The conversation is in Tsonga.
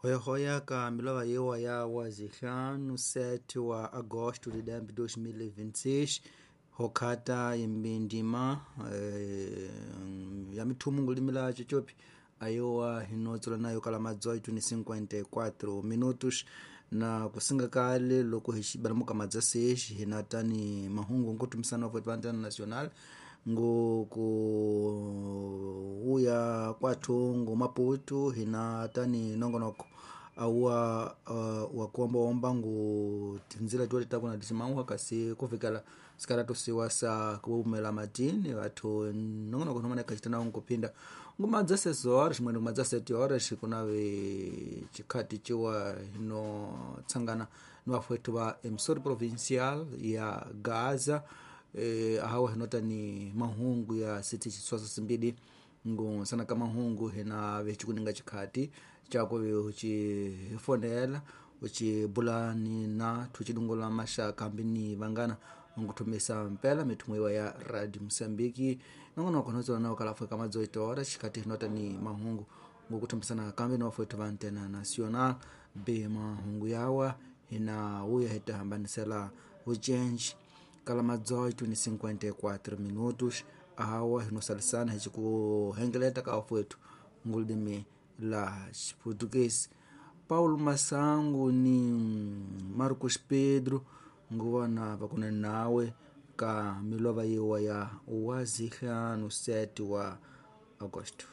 Hoyahoya ka milova yewa ya wazihlanu 7 wa agosto de 2026 hokhata imbindima ya mithumu ngulimila chochopi ayowa hinotsola nayo kala ma 18:54 minutos na kusinga kale loko hi xibalamuka madza sexi hina tani mahungu nkutumisana wa Antena Nacional ngo ku uya kwathu ngo Maputo hina tani nongonoko awa wa kuombaomba ngu tinzila tuwa takuna tisimauha kasi kufikela sikala tusiwa sa kuumela matini vathu nongonoko nomana kachitana nkuphinda ngumadza 6 horas mwene ngumadza 7 horas kunave chikhati chiwa hino tsangana ni vafwetu va emissora provincial ya Gaza ahawa hinota ni mahungu ya siti chiswasa simbidi ngu sana ka mahungu hina vechikuninga chikhati chako uchifonela uchibulani na tuchidungula mashaka ambi ni vangana nkuthumisa mpela mithumu iwa ya radio Moçambique nongonoko notsola nawo kalafu ka ma18 horas chikhati hinota ni mahungu ngukuthumisana kambi ni wafwetu va Antena Nacional be mahungu yawa hina uya hita hambanisela vucenji kala ma 18:54 minutos ahawa hinosalisana hicikuhengeleta ka wafwetu ngulidimi la Xiportuguês. Paulo Massango ni Marcos Pedro nguvona vakuna nawe ka milova yiwa ya wazihlanu 7 wa agosto.